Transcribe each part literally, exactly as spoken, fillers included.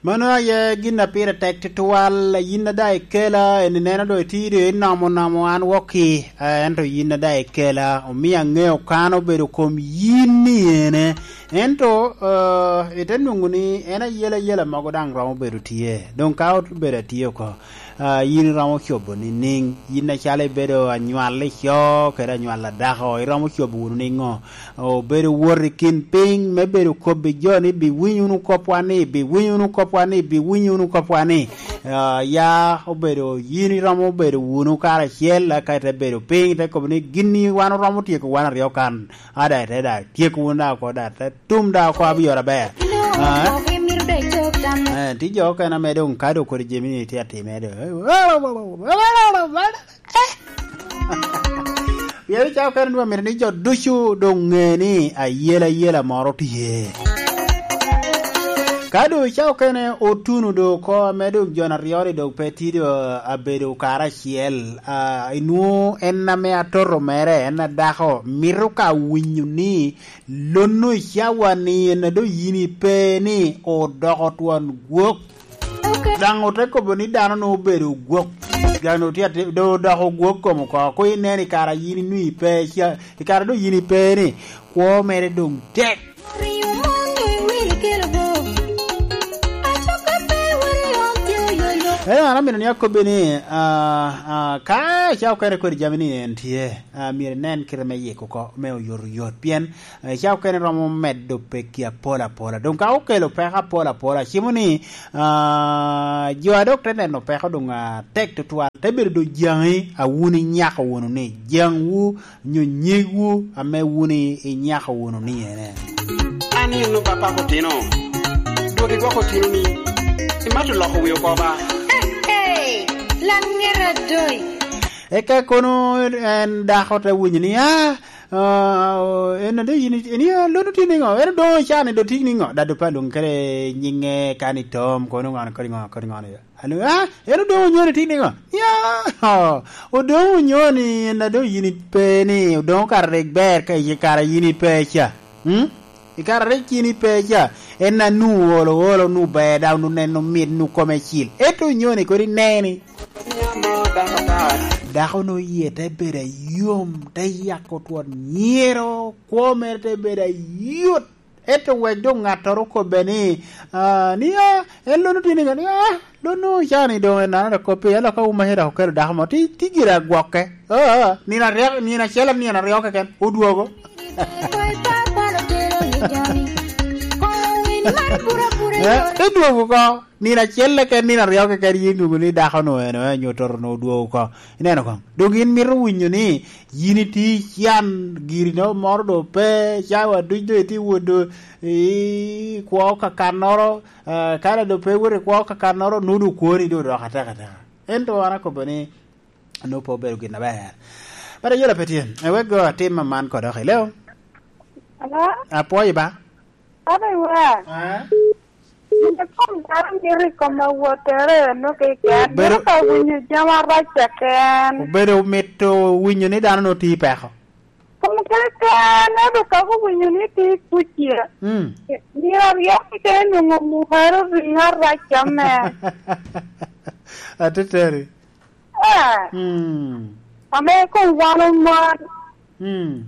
Mano aye gin a pire tek tutwal. Yin a daŋ ikela, en ineno doŋ itye doŋ inomo nomo an wokki, eh, ento yin a daŋ ikela, omio aŋeo kan obedo kom yin ni ene. Ento, eh, ite nwoŋo ni en ayela yela mogo daŋ romo bedo tye. Doŋ ka obedo atye oko, ah, yin iromo cobo niŋ? Yin acalo ibedo anywal ico kede anywal adako, iromo cobo wunu niŋo? Obedo wot i kin piny me bedo kobbi jo ni, "Biwiny wunu kopwa ni, biwiny wunu kopwa ni, biwiny wunu kopwa ni." Ah, ya obedo yin iromo bedo wunu karacel, aka ite bedo piny, ite kobo ni, "Gin ni wan oromo tyeko wan aryo kan, ada ite da tyeko wunu da oko da, te tum da oko abiyoro aber." Ah, eh, tye jo okene ame doŋ ka doŋ kodi jami ni tye atime doŋ. Pien i cawa okene nwoŋo myero ni jo ducu doŋ ŋe ni ayela ayela moro tye. Ka doŋ i cawa okene otuno doŋ oko, ame doŋ jo aryo-ni doŋ pe tye doŋ abedo karacel, ah, inwoŋo en ame atoto mere, en adako, mito ka winyo ni lonno i cawa-ni en a doŋ yin ipe ni odoko twon gwok. Daŋ ote kobo ni dano nwoŋo obedo gwok. Dano tye ati-, do-, odoko gwok kom oko. Koŋ inen i kare a yin inwoŋo ipe ca, i kare doŋ yin ipe ni, kwo mere doŋ tek. Ento an amito ni akobbi ni, ah, ah, ka icawa okene kodi jami ni en tye, ah, myero inen kite me yiko oko, me oyotoyot. Pien, eh, ca okene romo medo pekki apol apola. Doŋ ka okelo peko apol apola, cimo ni, ah, jo a dok te neno peko doŋ atek tutwal, te bedo doŋ jaŋi a wun inyako wunu ni, jaŋwu nyo nyegwu ame wun i-, inyako wunu ni ene. An inno papako otino, dwog idwoko otino ni, imato loko wi oko ba? Hey, hey, Laŋet Adoi. Eka kono en dako te winyo ni, "Ah, ah, en a doŋ yin, en a, lon otye niŋo? En doŋ can, doŋ tye niŋo?" Dado pe alwoŋo kede nyiŋe, kan i tom, kono ŋo, kodi ŋo, kodi ŋo ni. Ano, ah, en doŋ onyoni tye niŋo? Ya, oh, odoŋ onyoni, en a doŋ yin ipe ni, odoŋ okato rik ber ka i kare yin ipe ca. Hmm? I kare rik yin ipe ca, en a nu olo, olo, nu ber, daŋ nu neno mit, nu kome cil. Ento onyoni kodi neni. Dako-nu yie te bedo ayom, te yako twon nyero, kwo mere te bedo ayot. Ento wek doŋ ŋattoro okobbe ni, ah, ni, ah, en lon otye niŋo? Ni, ah, lon-nu can-ni doŋ en nano dok koppi, ento ka wun maca dok okelo dako mo, ti, ti gire agwokke. Ah, ah, nino aryo, nino acel, nino aryo keken, odwogo. Eh, te dwogo oko. Nino acel keken, nino aryo keken, yin nwoŋo ni dako-nu en, en onyo toto-nu odwogo oko. Ineno koŋ? Doŋ gin mito winyo ni yin itye i can, giri no moro doŋ pe, cawa duc doŋ itye wot doŋ i kwo kakannoro, ah, kare doŋ pe iwot i kwo kakannoro, nwoŋo doŋ kwoni doŋ odoko atek ateka. Ento an akobo ni, nwoŋo pe obedo gin aber. But ayela pe tye. Ewek go atim aman kodok i leo. Hello? Apwoyi ba? Abe wa. Ah? Yin kom dano mito i kom awottere eno keken. Obedo mito ka winyo jami arac keken. Obedo mito winyo ni dano nwoŋo tye i peko. Kom keken, ento ka owinyo ni tye i kuc-cia, mm, nino aryo keken nwoŋo omukere oriŋo arac ame. Ateteri. Eh. Mm. Ame kom wan omon. Mm.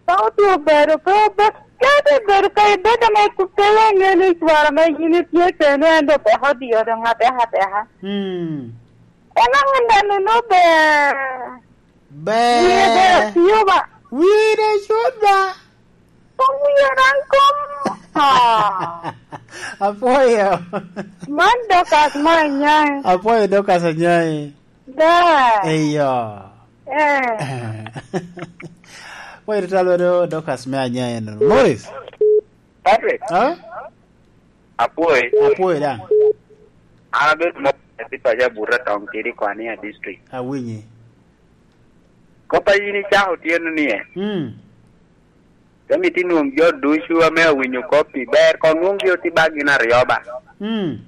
Ka otye obedo pe obed, kadi bedo ka ibed ame kuttere aŋe ni cwara me yin itye kene en doŋ peko odyo doŋ ateka ateka. Mm. En aŋe neno no ber. Ber. Wie ber tiyo ba. Wie de cut ba. Kom wie ran kom. Ah. Apwoyo. Man Dorcas ma Anyai. Apwoyo Dorcas Anyai. Da. Eyo. Eh. Wait, talo do Dorcas me Anyai eno. Morris. Patrick. Ha? Apwoyo. Apwoyo da. An abedo mo pi paco Abuta Toŋ Tidi Kwania District. Awinyi. Kop a yin icako otyeno ni e. Mm. Pe mito inwoŋ jo ducu ame awinyo kop i ber, koŋ nwoŋgi oti ba gin aryo ba. Mm.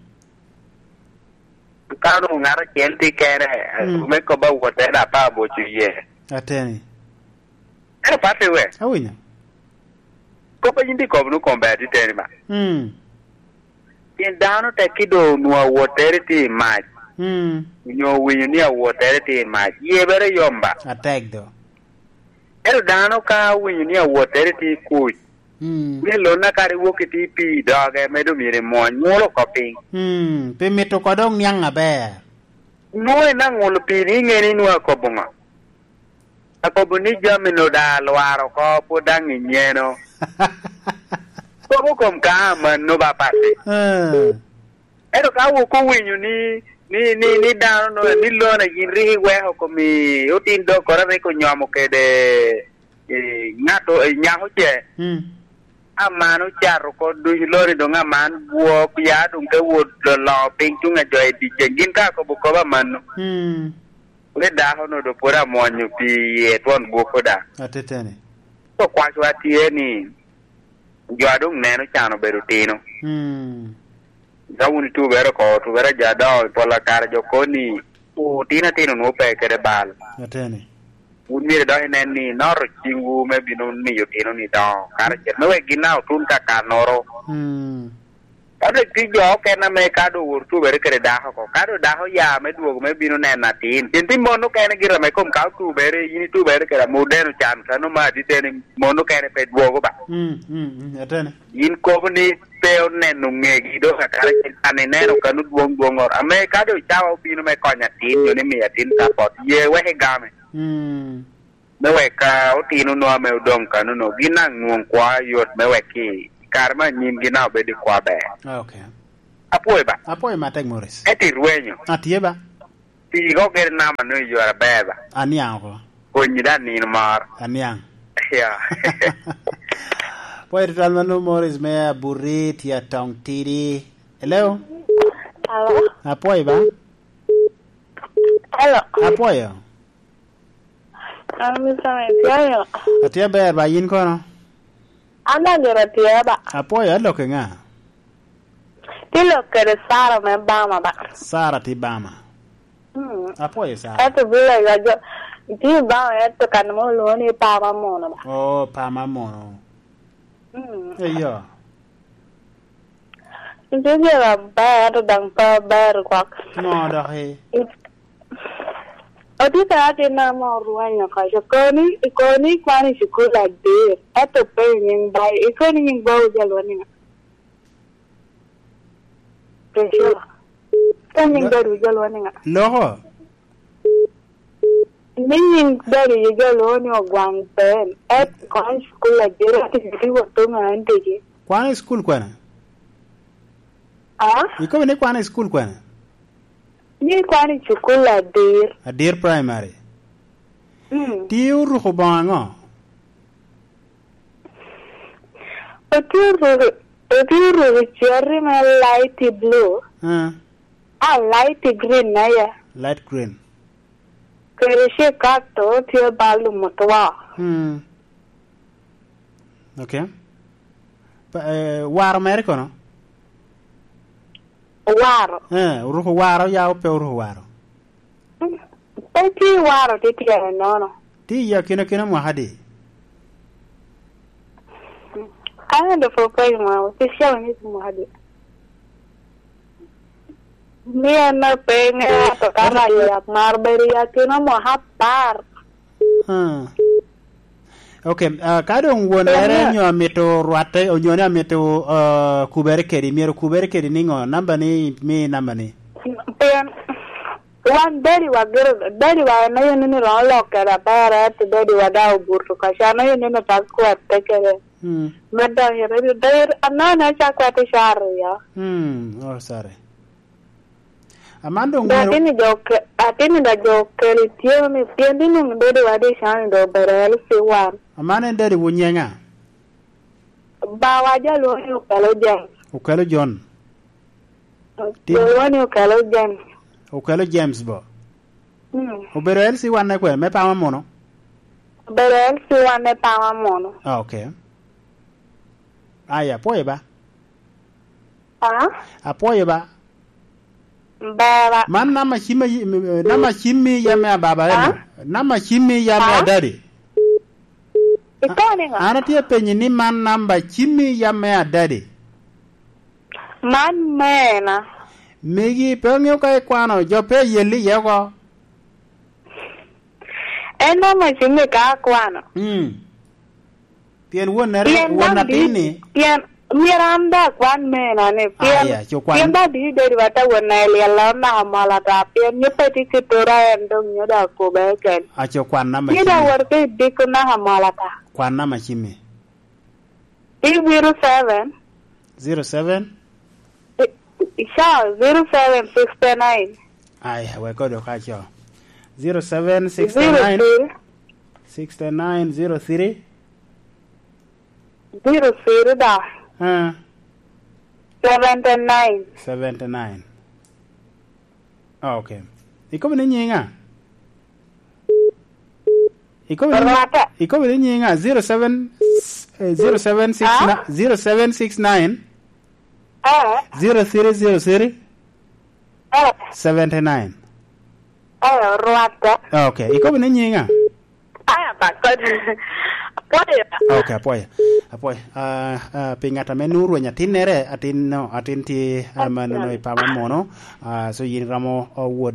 Ka onwoŋo ŋat acel tye kene, mm, me kop awot en apa aboco iye. Ateni. Ento Patrick we. Awinyo. Kop a yin tye kobo nu kom ber titeni ba. Mm. Pien dano tek ki doŋ onwoŋo awottere tye i mac, Mm. onyo owinyo ni awottere tye i mac, yie bere yom ba. Atek do. Ento dano ka owinyo ni awottere tye i kuc, Mm. ni lonna kara iwok itye i pii i doge, me doŋ myero imwony, nyulo oko piny. Mm. Pi mito oko doŋ niaŋ aber. Nwoŋo en aŋulo pii ni iŋe ni nwoŋo akobo ŋo? Akobo ni jami-nu daŋ alwar oko, pwod daŋ inyeno. Kobo kom ka amanno ba patte. Eh. Ento ka wok owinyo ni, ni, ni, ni dano no, ni lona yin rik iweko kom i otin dokkoro rik onyomo kede, eh, ŋato, eh, nyako ce. Mm. Aman ocato oko duc loni doŋ aman gwok, ya doŋ te wot loloŋo piny tuŋ a jo i dyeceŋ. Gin ka akobo kop amanno, Mm. ni dako-nu doŋ pwod amwonyo pii iye twon gwoko daŋ. Ateteni. So kwacwa tye ni, jo a doŋ neno can obedo otino. Mm. Ka wun itubere oko, tubere jo adoŋo i pol akare jo kobo ni, otino atino nwoŋo pe kede bal. Ateni. Wun myero dok inen ni inoto ciŋwu me bino miyo otino-ni doŋo karacel, me wek gin daŋ otun ka kannoro. Mm. Ka dok tye jo okene ame ka doŋ owoto tubere kede dako oko, ka doŋ dako oya me dwogo me bino neno atin, pien tye mon okene gire ame kom ka otubere, yin itubere kede ame odeno can, kano ma adit en mon okene pe dwogo ba. Mm, mm, mm, ateni. Yin kobo ni pe oneno ŋegi doŋ akara cen kan ineno kano dwoŋ dwoŋoro. Ame ka doŋ cawa obino me konyo atin, nyo ni miyo atin support, ye wek igame. Mm. Me wek ka otino no ame odoŋ kano no, gin daŋ nwoŋ kwo yot me wek i kare me anyim gin daŋ obed i kwo aber. Ah, ok. Apwoyo ba. Apwoyo matek, Morris. Ento irwenyo. Atye ba. Pii ko gire namba no i yore aber ba. Aniaŋ oko. Konyi daŋ nino moro. Aniaŋ. Ya. Pwoyo tutwal mano, Morris me Abuti tye atong tidi. Hello? Hello? Apwoyo ba? Hello? Apwoyo. An Mister Mesiah. Atye aber ba, yin kono? An daŋ gire atye ba. Apwoyo, alok i ŋa? Tye lok kede Sara me Bama ba. Sara tye Bama. Mm. Apwoyo Sara. Ento bila ya jo, tye Bama ento kan mo olwoŋo ni Pama Mono ba. Oh, Pama Mono. Mm. Eyo. Nitie jo aber, ento daŋ pe aber gwok. Ŋo dok i? Otye ka atin ame orwenyo oko, okoni, okoni ikwano i cukul adir, ento pe i nying bayi, ikoni nying bawu jo lweny niŋa? Priscilla. Ka nying dadi ojalo ni ŋa? Loko. Ni nying dadi ojalo ni Ogwaŋ Ben. Et kwan cukul adir ati gidi wot to ŋa en tigi. Kwan i cukul kwene? Ah? Ikobo ni kwan i cukul kwene? Ni kwan i cukul adir. Adir primary. Mm. Ti oruko boŋo aŋo? Otye oruko, otye oruko cati me light blue. Ah. Ah, light green na ya. Light green. Kede cikat to tye bal lum otwo. Hmm. Okay. Pa, eh, waro mere kono? Waro. Eh, oruko waro ya pe oruko waro? Pe tye i waro tye tyene nono. Tye i akina kina mwaka adi? An alufu apar i mwaka, pe calo ni mwaka adi. Ni an ape ŋe ato ka rac yat mar bedo i akina mwaka apar. Ah. Ok, ah, ka doŋ wonere nyo amito rwatte, onyo ni amito, ah, kubere kedi, myero kubere kedi niŋo? Namba ni, mi namba ni. Pien wan dadi wa gire, dadi wa en aye nino romo lok kede aber, ento dadi wa daŋ obuto kaca, en aye nino tak kwatte kede. Mm. Me donyo i redio, dadi anene acak kwatte ca aryo. Mm, oh, sorry. Aman doŋ myero atini jo ke-, atini da jo keli tye ni pien ni nung dadi wa di cani do obedo L C one. Aman en dadi wu nyenga? Bawa jo lwongo ni Okelo James. Okelo John. Tim- Jo lwongo ni Okelo James. Okelo James bo? Mm. Obedo L C one ne kwene, me Pama Mono? Obedo L C one me Pama Mono. Ah, ok. Aya, apwoyo ba. Ah? Apwoyo ba. Baba. Man namba cim a yi-, m-, m-, namba cim mi yam me ababa eno. Ah? Namba cim mi yam me adadi. Ikoni ŋo? An atye apenyi ni man namba cim mi yam me adadi. Man mena. Megi pe oŋeo ka ikwano, jo pe yelli iye oko. En ame cimmi ka akwano. Mm. Pien wonnere, Pien won daŋ atin-ni. Di-, pien myero an daŋ akwan mena ni. Pien, Aya, co kwan. Pien daŋ di bedo wata won na elyel a onaka mol ata. Pien nyo pe tye ki tura en dong nyo daŋ akobe eken. Aco kwan nama Nyo daŋ cimmi. Wot ki diko naka mol ata. Kwan nama cimmi. Zero seven. Zero seven? Ica, zero seven sixty nine. Ai, wek kodo ka co. Zero seven sixty nine. Zero three. Sixty nine zero three. Zero three da. Ah. Seventy nine. Seventy nine. Ah, okay. Ikobo ni nyinga? Ikobo ni, Rwata. Ikobo ni nyinga? Zero seven, eh, zero seven six nine, Ah? Zero seven six nine, Ah? Zero three zero three, Ah? Seventy nine. Ah, Rwata. Okay. Ikobo ni nyinga? Aya, bakot. Apwoyo. Okay, apwoyo. Apwoyo. Ah, ah, pi ŋat ame nwoŋo rweny atinnere, atin no, atin tye, ah, ma nono i pama mono. Ah, so yin ramo, oh, wod